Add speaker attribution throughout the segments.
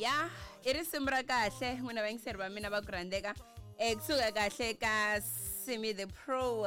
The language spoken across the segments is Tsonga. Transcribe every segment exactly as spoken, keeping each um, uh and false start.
Speaker 1: Ya i risimu ra kahle n'wina vayingiseri va mina va ku rhandzeka um kusuka kahle ka Simi the Pro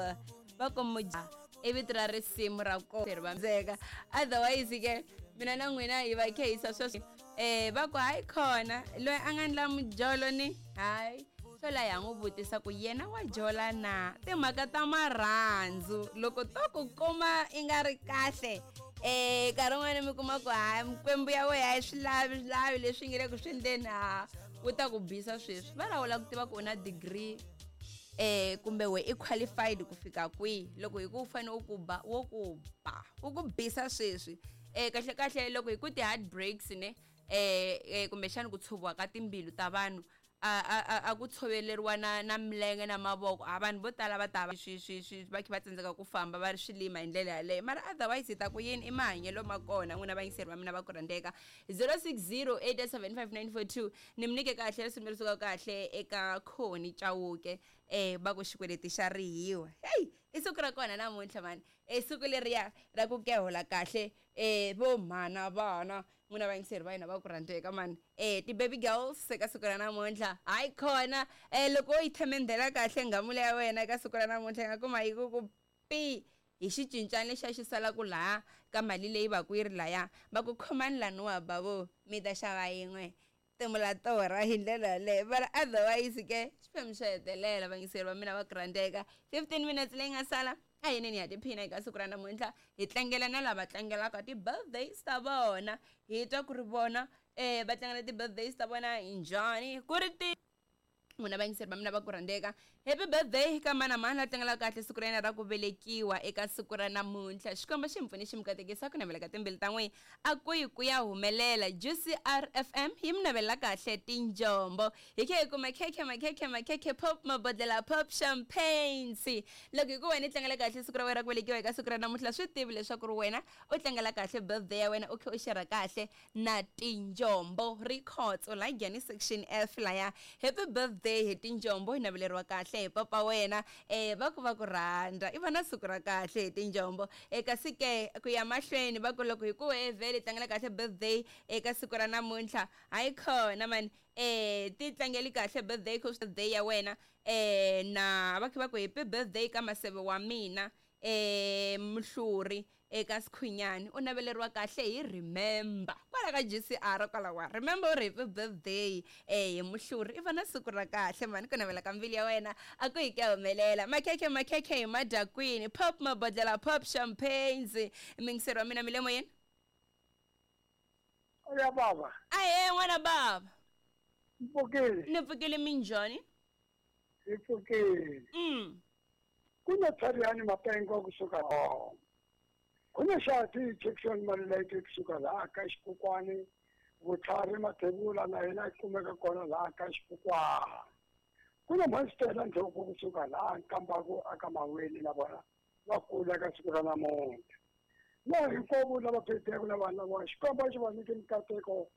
Speaker 1: va ku muja i vito ra risimu ra kona va ndzeka. Otherwise ke mina na n'wina hi va khehisa sweswi um va ku hayi khona loyi a nga ndla mujolo ni hayi swo la ya n'wi vutisa ku yena wa jola na timhaka ta marhandzu loko to ku kuma i nga ri kahle eh nkarhi wun'wani mi kuma ku hayi mikwembu ya wena a yi swi lavi swi lavi leswi nge le ku swi endleni ha wu ta ku bisa sweswi va lawula ku tiva ku u na degree eh kumbe we i qualified ku fika kwihi loko hi ku u fanele u ku ba wo ku ba u ku bisa sweswi eh kahle kahle loko hi ku ti-heartbreaks ne eh eh kumbexani ku tshoviwa ka timbilu ta vanhu a a a a ku tshoveleriwa na na milenge na mavoko a vanhu vo tala va ta va swi swi swi va kha va tsandzeka ku famba va ri swilima hi ndlela yaleyo mara otherwise hi ta ku yini i mahanyelo ma kona n'wina vayingiseri va mina va ku rhandzeka zero six zero eight seven five nine four two ni mi nyike kahle risimu leri sukaka kahle eka Khoni Chauke eh va ku xikweleti xa rihiwa heyi i siku ra kona namuntlha mani i siku leriya ra ku kehola kahle eh vo mhana vana n'wina vayingiseri va hina va ku rhandzeka mani eh ti-baby girls eka siku ra namuntlha hayi khona eh loko u yi themendhela kahle ngamula ya wena eka siku ra namuntlha yi nga kuma yi ku ku pi hi xicincana lexiya xi salaku laha ka mali leyi va ku yi ri laya va ku khomani laniwa bavo mi ta xava yin'we timula torha hi ndlela yaleyo mara otherwise ke xiphemu xo hetelela vayingiseri va mina va ku rhandzeka fifteen minutes leyi nga sala a hi neni ha tiphina eka siku ra namuntlha hi tlangela na lava tlangelaka ti-birthdays ta vona hi twa ku ri vona um va tlangela ti-birthdays ta vona hi njhani ku ri ti n'wina vayingiseri va mina va ku rhandzeka happy birthday ka mani na mani la tlangelaka kahle siku ra yena ra ku velekiwa eka siku ra namuntlha xikwembu xi mi pfuni xi mi katekisa ku navela ka timbilu ta n'wina a ku yi ku ya humelela Juicy R F M yi mi navelela kahle tinjombo hi khe hi kuma khekhe makhekhe makhekhe pop mabodlela pop champagnes loko hi ku wena i tlangela kahle siku ra wena ra ku velekiwa eka siku ra namuntlha swi tivi leswaku ri wena u tlangela kahle birthday ya wena u khe u xerha kahle na tinjombo rikhotso la Giyani section F laya happy birthday hi tinjombo hi naveleriwa kahle hi papa wena eh va ku va ku rhandza i va na siku ra kahle hi tinjombo e kasi ke ku ya mahlweni va ku loko hi ku we vhele tlangela kahle birthday eka siku ra namuntlha hayi khona mani eh ti tlangeli kahle birthday ku birthday ya wena eh na va kha va ku happy birthday ka maseve wa mina eh Mhluri eka Sikhunyani u naveleriwa kahle hi Remember kwala ka G C R kwala wa Remember u ri happy birthday eh hi Mhluri i va na siku ra kahle mani ku navela ka mbilu ya wena a ku hi ke humelela makhekhe makhekhe hi madyakwini pop mabodlela pop champagnes mingiseri wa mina mi le moyeni
Speaker 2: Ya baba
Speaker 1: ahe n'wana baba
Speaker 2: mpfukile
Speaker 1: ni pfukile minjhani
Speaker 2: hi pfukile
Speaker 1: mm
Speaker 2: kuna Tariani Mapengo kusuka oh kuna Shati Jackson Maluleke kusuka laha ka Xikukwani Vutlhari Mathebula na yena kumeka kona laha ka Xikukwani kuna Mastela Ndlhoku kusuka laha Nkambaku aka Maweni na vona va kula ka siku ra namuntlha na hinkwavo lava phetheko na vanhu lava Xikwembu xi va nyike mikateko